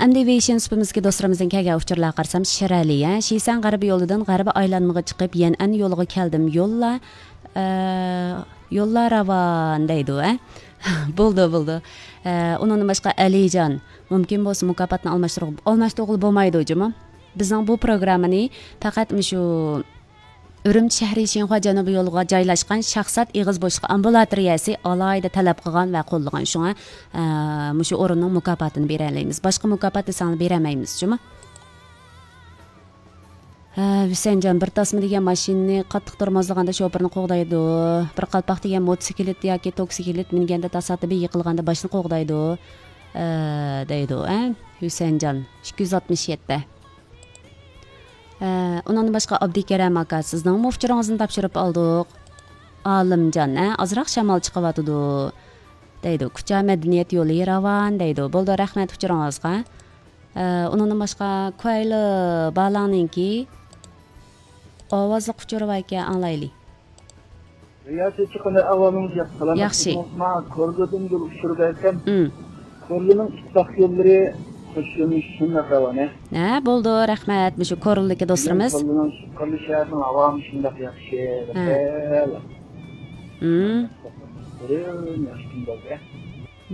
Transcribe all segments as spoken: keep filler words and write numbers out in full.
ئەمدى ۋېيشىن سۇپىمىزدىكى دوستلىرىمىزدىن كەلگەن ئۇچۇرلارغا قارىسام، شىرەلى، ھە، شىسەن غەربىي يولىدىن غەربىي ئايلانمىغا چىقىپ، يەنئەن يولىغا كەلدىم. يوللار، ئە، يوللار راۋان دەيدۇ، ھە. بولدى، بولدى. ئە، ئۇنىڭدىن باشقا ئەلىجان، مۇمكىن بولسا مۇكاپاتنى ئالماشتۇرغ-، ئالماشتۇرغىلى بولمايدۇ جۇمۇ. بىزنىڭ بۇ پروگراممىنى پەقەت مۇشۇ ئۈرۈمچى شەھىرى شىنخۇا جەنۇبىي يولىغا جايلاشقان شاھزات ئېغىز بوشلۇقى ئامبۇلاتورىيەسى ئالاھىدە تەلەپ قىلغان ۋە قوللىغان. شۇڭا، ئە، مۇشۇ ئورۇننىڭ مۇكاپاتىنى بېرەلەيمىز. باشقا مۇكاپات دېسەڭلار بېرەلمەيمىز جۇمۇ. ھە، ھۈسەنجان، بىر تاسما دېگەن ماشىنىنى قاتتىق تورمۇزلىغاندا شوپۇرنى قوغدايدۇ. بىر قالپاق دېگەن موتوسىكلىت ياكى توكسىكلىت مىنگەندە تاسادىپىي يىقىلغاندا باشنى قوغدايدۇ، ئە، دەيدۇ، ئە، ھۈسەنجان. ئىككى يۈز ئاتمىش يەتتە. ئە، ئۇنىڭدىن باشقا ئابدۇكېرەم ئاكا، سىزنىڭمۇ ئۇچۇرىڭىزنى تاپشۇرۇپ ئالدۇق. ئالىمجان، ئە، ئازراق شامال چىقىۋاتىدۇ، دەيدۇ. كۇچا مەدەنىيەت يولى راۋان، دەيدۇ. بولدى، رەھمەت ئۇچۇرىڭىزغا. ئە، ئۇنىڭدىن باشقا كۇەيلى بالانىڭكى ئاۋازلىق ئۇچۇرى باركەن، ئاڭلايلى. رىياسەتچى، قانداق ئەھۋالىڭىز؟ ياخشى، سالامەت ياخشى. تۇرۇڭىزما؟ كورلىدىن يول ئۇچۇرى بەرسەم، مم. كورلىنىڭ ئىتتىپاق يوللىرى قوش يۆنىلىش شۇنداق راۋان، ھە؟ ھە، بولدى، رەھمەت. مۇشۇ كورلىدىكى دوستلىرىمىز. كورلىنىڭ، كورلى شەھەرنىڭ ھاۋامۇ شۇنداق ياخشى. ھە. مم. بۈگۈن ياخشى كۈن بولدى.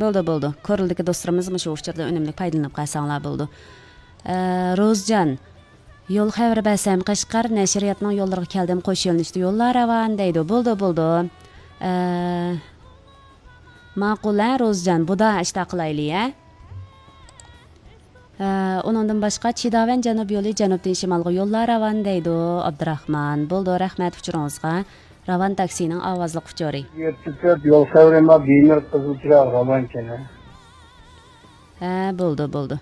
بولدى، بولدى. كورلىدىكى دوستلىرىمىز مۇشۇ ئۇچۇردىن ئۈنۈملۈك پايدىلىنىپ قالساڭلار بولدى. ئە، روزجان، يول خەۋىرى بەرسەم، قەشقەر نەشرىياتنىڭ يوللىرىغا كەلدىم، قوش يۆنىلىشتە يوللار راۋان دەيدۇ. بولدى، بولدى. ئە، ماقۇل، ھە، روزجان، بۇدا ئىشتا قىلايلى، ھە. ئە، ئۇنىڭدىن باشقا، چىداۋەن جەنۇب يولى جەنۇبتىن شىمالغا يوللار راۋان دەيدۇ، ئابدۇراخمان. بولدى، رەھمەت ئۇچۇرىڭىزغا. راۋان تاكسىنىڭ ئاۋازلىق ئۇچۇرى. يەتتە تۆت يول خەۋىرى ما بىمەر قىزىل چىراغ راۋانكەن، ھە؟ ھە، بولدى، بولدى.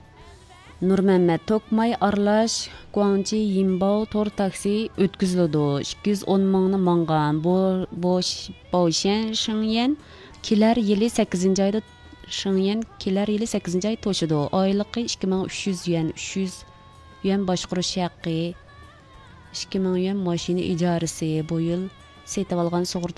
نۇرمەممەت، توكماي ئارىلاش گۇاڭجى يىنباۋ تور تاكسى ئۆتكۈزۈلىدۇ. ئىككى يۈز ئون مىڭنى ماڭغان بو-، بوش-، باۋشيەن شېڭيەن كېلەر يىلى سەككىزىنچى ئايدا، شېڭيەن كېلەر يىلى سەككىزىنچى ئاي توشىدۇ. ئايلىقى ئىككى مىڭ ئۈچ يۈز يۈەن، ئۈچ يۈز يۈەن باشقۇرۇش ھەققى. ئىككى مىڭ يۈەن ماشىنا ئىجارىسى، بۇ يىل سېتىۋالغان سۇغۇرتا